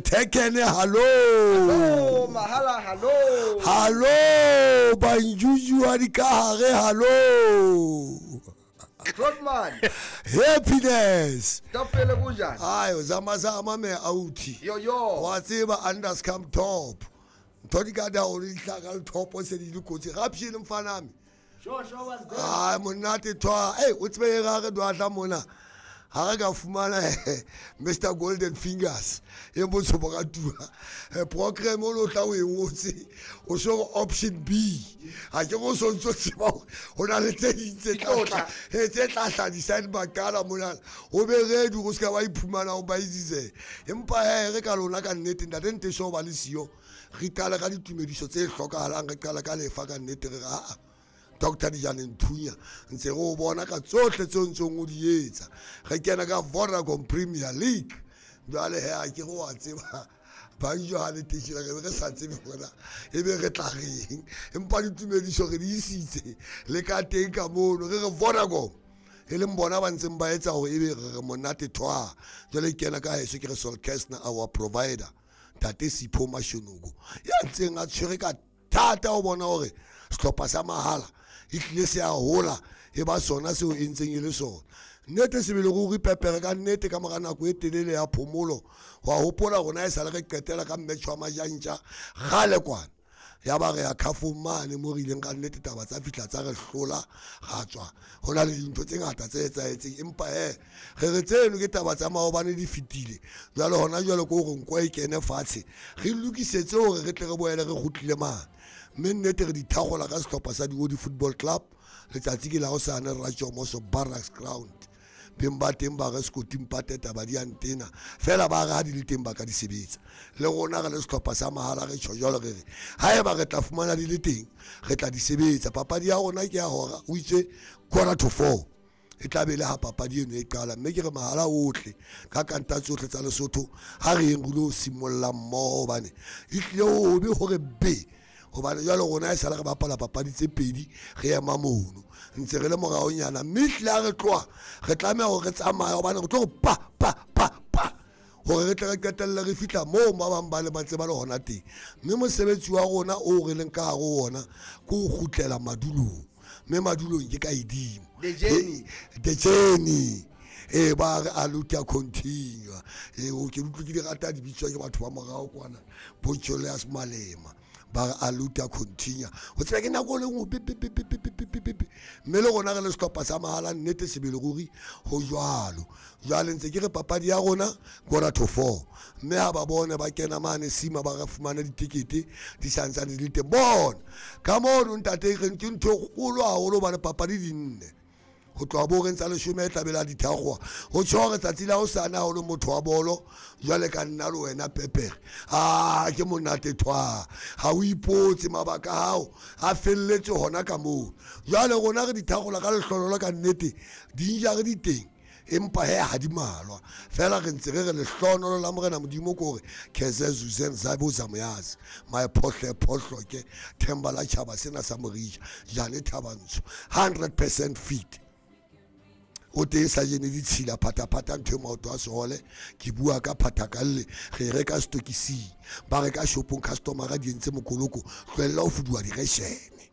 Thekene hallo. Hallo mahala hallo. Hallo banjuju wa dikahare hallo. Grootman. Happiness. Topele kunjani? Hayi zama zama me authi. Yo yo. Wa tseba unders come top. Ntho di ka da o di hlaka le top se di le kotsi. Rapshile mfanami. Sure, sure was there. Hayi monate thwa. Hey o tsebe ga re dwatla mona. Ha re ka fumana Mr Golden Fingers e botsho bo ka tua program o tla o e ngotse o so option B ha ke go sontso tseba ho na le tse ding tse tla tse tla tla di sign bakala mona o be ready go ska ba iphumana o ba izise empa he re ka lona ka nnete ntate nte so ba le siyo re qala ka ditumediso tse hlokahalang re qala ka lefa ka nnete re a Dr. Dijane Nthunya ntse re o bona ka tsohle tseo ntseng o di etsa re kena ka Vodacom Premier League jwale he a ke go wa tseba ba jwale teshila re re sa tsebe hore e be re tla reng empa ditumediso re di isitse le ka teng ka mono re re Vodacom e leng bona ba ntseng ba etsa hore ebe re monate thwa jwale kena ka heso ke re Sol Kestner our provider Ntate Sipho Mashonoko ya ntseng a tshwere ka thata o bona hore sehlopha sa mahala e tlile se a hola e ba sona seo e ntseng e le sona nnete sebele ruri pepere ka nnete ka mora nako e telele ya phomolo wa hopola rona e sale re qetela ka match wa majantja kgale kwana ya ba re ya khafong mane mo re ileng ka nnete taba tsa fihla tsa re hlola ra tswa ho na le dintho tse ngata tse etsahetseng empa he re re tseno ke taba tsa maobane di fetile jwale hona jwale ko hore nko e kene fatshe re lokisetse hore re tle re boele re kgutlile mane mme nnete re dithagola ka sehlopha sa Diodi Football Club letsatsi ke la hosane Ratjomoso Barracks Ground beng ba teng ba re sekoting pateta ba di antena fela ba re ha di le teng ba ka di sebetsa le rona re le sehlopha sa mahala re tjho jwalo re re haeba re tla fumana di le teng re tla di sebetsa papadi ya rona ke ya hora o itse 3:45 e tla be le ha papadi eno e qala mme ke re mahala ohle ka kanta tsohle tsa Lesotho ha re eng re lo simolla mmoho hobane e tlile hobe hore be hobane jwale rona e sale re bapala papadi tse pedi re ema mono ntse re le moraonyana mme ehlile ha re tloha re tlameha hore re tsamaye hobane re tlo pa pa pa pa hore re tle re qetelle re fihla moo ba bang ba le ba ntse ba le hona teng mme mosebetsi wa rona o re leng ka hare ho ona ke ho kgutlela madulong mme madulong ke ka edimo The journey. The journey e ba re a luta continue e o ke utlwe ke di rata di bitswa ke batho ba morao kwana bo Julius Malema ba re a luta continue ho tseba ke nako le nngwe pe pe pe pe pe pe pe pe pe mme le rona re le sehlopha sa mahala nnete sebele ruri ho jwalo jwale ntse ke re papadi ya rona 3:45 mme ha ba bone ba kena mane sima ba re fumana ditekete di santsane di le teng bona ka mono ntate re ke ntho e kgolo haholo hobane papadi di nne ho tloha bo reng tsa leshome e tla be la dithagoa ho tjho hore tsatsi la hosane ha o le motho wa bolo jwale ka nna le wena pepere a ke monate thwa ha o ipotse mabaka hao a felletse hona ka moo jwale rona re dithagola ka lehlololo ka nnete di ja re di teng empa he ha di malwa fela re ntse re re lehlonolo la morena modimo ke hore Keze Zuzen Zabo Zamoyazi my phohle phohloke themba la tjhaba sena sa Morija Jane Thabantsho 100% fit o teng sa jene ditshila phathaphatha ntho e maoto a sehole ke bua ka phathakalle re reka setokising ba reka shopong customer di entse mokoloko tlohella ho fuduwa direshene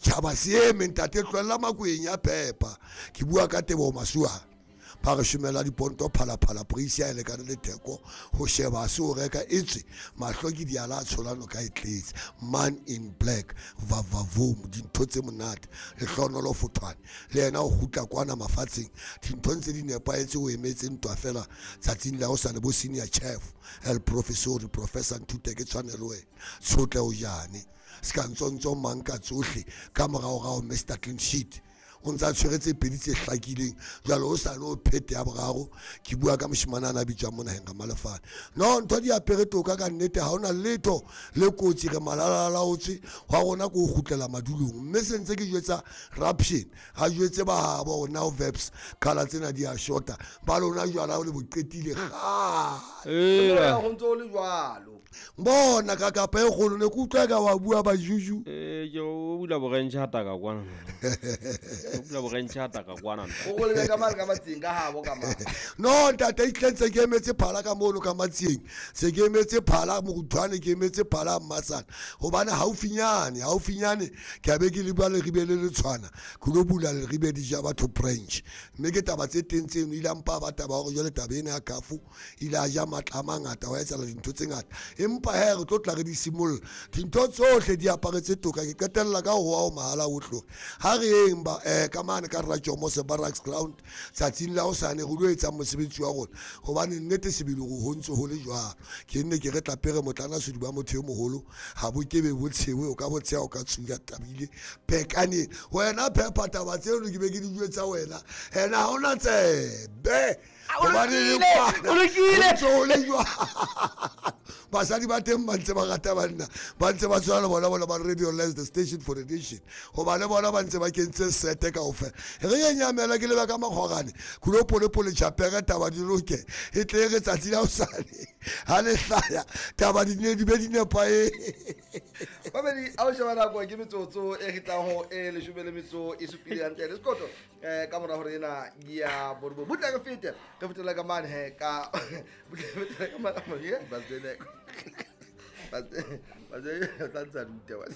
tjhaba se eme ntate tlohella makweng ya phepa ke bua ka Teboho Masualle ba re shomela diponto phalaphala price ya e lekane le theko ho sheba se o reka etswe mahlo ke diala a tsholano ka e tletse man in black vavavoom dintho tse monate lehlohonolo fothwane le yena o kgutla kwana mafatsheng dintho ntse di nepahetse o emetse ntwa fela tsatsing la hosane bo senior chef el professori professor Nthute ke tshwanelo wena tshotle o jane se ka ntsontso mang ka tsohle ka moraorao Mr Clean Sheet o ntse a tshwere tse pedi tse hlakileng jwale o sane o phete ya boraro ke bua ka moshemane a na bitswang mo naheng ka Malefane no ntho di apere toka ka nnete ha hona letho le kotsi re malalalaotswe wa rona ke ho kgutlela madulong mme se ntse ke jwetsa Raption ha jwetse ba habo hore now verbs kala tsena di a shota ba lona jwala o le bo qetile kgale Ho ntse ho le jwalo bona ka kapa e kgolo ne ke utlwa ka wa bua ba juju Ke o bula borentshe hata ka kwana. O bula borentshe hata ka kwana. O go lebe ka mane ka matseng ka habo ka mane. No ntate itleng se ke emetse phala ka mono ka matsieng. Se ke emetse phala moruthwane ke emetse phala mmasana. Hobane haufinyane haufinyane ke a be ke le bua leribe le le tshwana. Ke lo bula leribe di ja batho branch. Mme ke taba tse teng tseno ile mpa ba taba hore jwale taba ena ya kafu ile a ja matla a mangata wa etsahala dintho tse ngata. Empa he re tlo tla re di simolla. Dintho tsohle di aparetse toka ke qetella ka ho wa o mahala o tlo. Ha re yeng ba ka mane ka Rajomo Barracks ground tsatsing la hosane re lo etsa mosebetsi wa rona. Hobane nnete sebele ho ntse ho le jwalo. Ke nne ke re tla pere motlana sediba motho e moholo ha bo kebe bo tshewe o ka bo tsheha o ka tsuya tabile pekane wena phepha taba tseo ke be ke di jwetsa wena ena ha ona tsebe hobane le kwana o lokile. ho ntse ho le jwalo. Basadi ba teng ba ntse ba rata banna ba ntse ba tshwana le bona bona ba Radio Lens, the station for the nation hoba le bona ba ntse ba kentse sete kaofela. Re ye nyamela ke leba ka makgorane kulo polepole tjhapere taba di loke e tle re tsatsi la hosane ha le hlaya taba di ne di be di nepae. Babedi a o sheba nako ke metsotso e re tlang ho e leshome le metso e supile hantle le sekoto ka mora hore ena ya borobo butla re fete re fetela ka mane he ka butla re fetela ka mane ye ba tsene ba tsene tla ntsa rute ba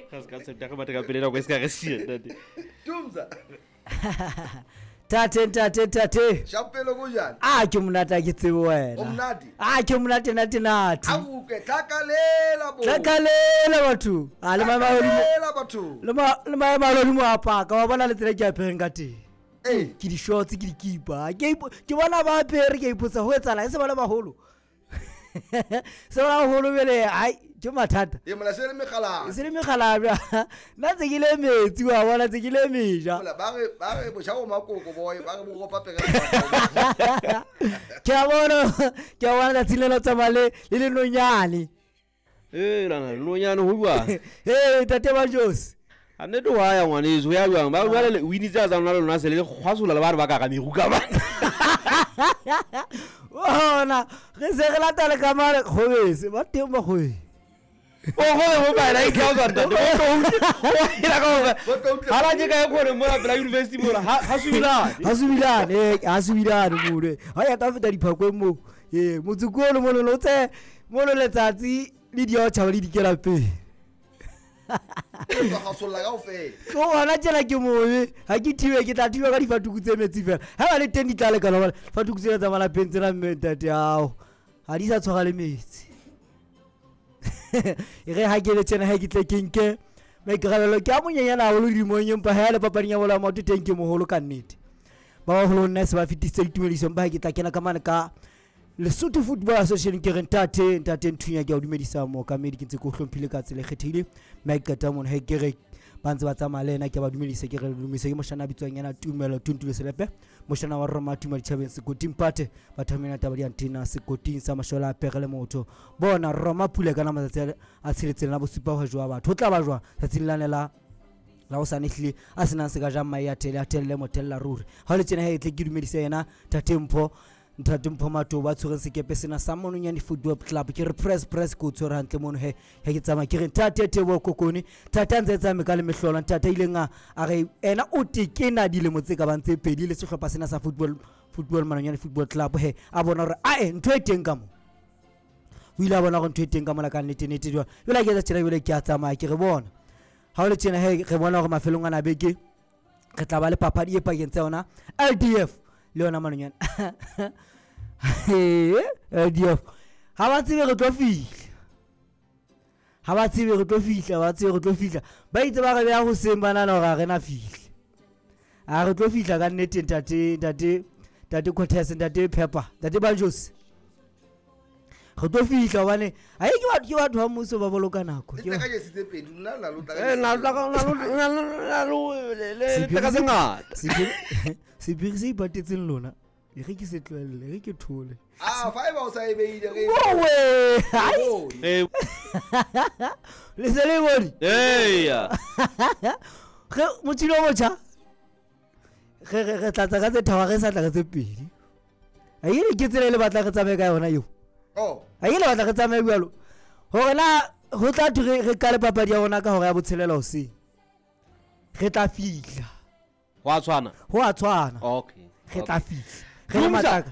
Ka se ka tsepta re batla ka pele nako e se ka re siya ntate. Tumza Tate ntate tate. Shapelo go jang? A ke monate ha ke tsebe wena. O monate? A ke monate nate nate. A utlwe tlakalela bo. Tlakalela batho. A le maemo a hodimo. Tlakalela batho. Le maemo a hodimo a paka wa bona le tsela ke apereng ka teng. Ee. Ke di shorts ke dikipa. Ke bona ba apere ke a ipotsa ho etsahala e se ba le baholo. Se ba baholo bele ai ke mathata. E mola se le megala. Se le megala bja. Nna tse ke le metsi wa bona tse ke le meja. Mola ba re botjha bo makoko boy ba re bo ropa pere. Ke a bona tsatsing le la tsamaya le lenonyane. Eh lana lenonyane ho jwang? Eh tate ba Josi. A nnete wa ya ngwaneso ya jwang? Ba jwale le wini tsa tsa lona lona se le kgwasola le ba re ba ka ka meru ka ba. Bona re se re lata le ka mane kgobese ba teng ba kgobese. O kgone ho ba la ikha ntate. O ila ka hore ha la ke ka e kgone mona pela university mona ha subilane. Ha subilane ha subilane mole. Ha ya ta feta diphakweng mo. Eh motse ko le mono lo tse mono letsatsi le di a tjhaba le dikela pele. Ba gasolla kaofela. Ke hona tjena ke mobe ha ke thibe ke tla thiba ka difatuku tse metsi fela. Ha ba le teng di tla lekana hobane fatuku tsena tsa malapeng tsena mme ntate ao ha di sa tshwara le metsi. E re ha ke le tjena ha ke tle ke nke maikarabelo ke a monyenyana haholo dilemong empa ha le papading ya bolo ya maoto teng ke moholo ka nnete. Ba baholo nna se ba fetisitse ditumediso empa ha ke tla kena ka mane ka Lesotho Football Association ke re ntate ntate Nthunya ke a o dumedisa mookamedi ke ntse ke o hlomphile ka tsela e kgethehile. Mme ha ke qeta mono ha ke re ba ntse ba tsamaya le yena ke a ba dumedisa ke re le dumedisa ke moshana a bitswang yena Tumelo Tuntule Selepe moshana wa Roma Tuma ditjhabeng sekoting pate batho ba mena taba di antena sekoting sa mashola a pere le motho bona Roma pula ka matsatsi a tsheletseng la bosupa ho jwa batho ho tla ba jwang tsatsing lane la la hosane ehlile a senang se ka jang mahe a thele a thelle mothella ruri ha o le tjena ha e tle ke dumedise yena Ntate Mpho Ntate Mpho Mato ba tshwereng sekepe sena sa Mononyane Football Club ke re press press ko tshwere hantle mono he he ke tsamaya ke re ntate Teboho Kokone ntate a ntse tsamaye ka le mehlolo ntate a ileng a re ena o tekena dilemo tse ka bang tse pedi le sehlopha sena sa football Mononyane Football Club he a bona hore ae ntho e teng ka mo o ile a bona hore ntho e teng ka mola ka nnete nnete jwang jwale ha ke etsa tjena jwale ke a tsamaya ke re bona ha o le tjena he re bona hore mafelong ana a beke re tla ba le papadi e pakeng tsa yona LDF le yona Mononyane LDF ha ba tsebe re tlo fihla ha ba tsebe re tlo fihla ba tsebe re tlo fihla ba itse ba re beha hoseng ba nahana hore ha re na fihla a re tlo fihla ka nnete ntate ntate ntate Cortez ntate Pepper ntate Banjos re tlo fihla hobane ha e ke batho ke batho ba mmuso ba boloka nako Le tla ka jesi tse pedi nna la lo tla ka Eh na lo le tla ka tse ngata. Sephiri se ipatetseng lona e re ke se tlohelle re ke thole. Ah five o sa e beile re. Owe Eh le se le bone. Eya. Re motshilo o motjha re tlatsa ka tse tharo re sa tla ka tse pedi. A e ke tsela e le batla re tsamaye ka yona eo. Oh. A e le batla re tsamaye jwalo. Hore na Ho tla thwe re qale papadi ya rona ka hora ya botshelela hoseng. Re tla fihla. Ho a tshwana? Ho a tshwana. Okay. Re tla fihla. Re le Dumisa, matlaka.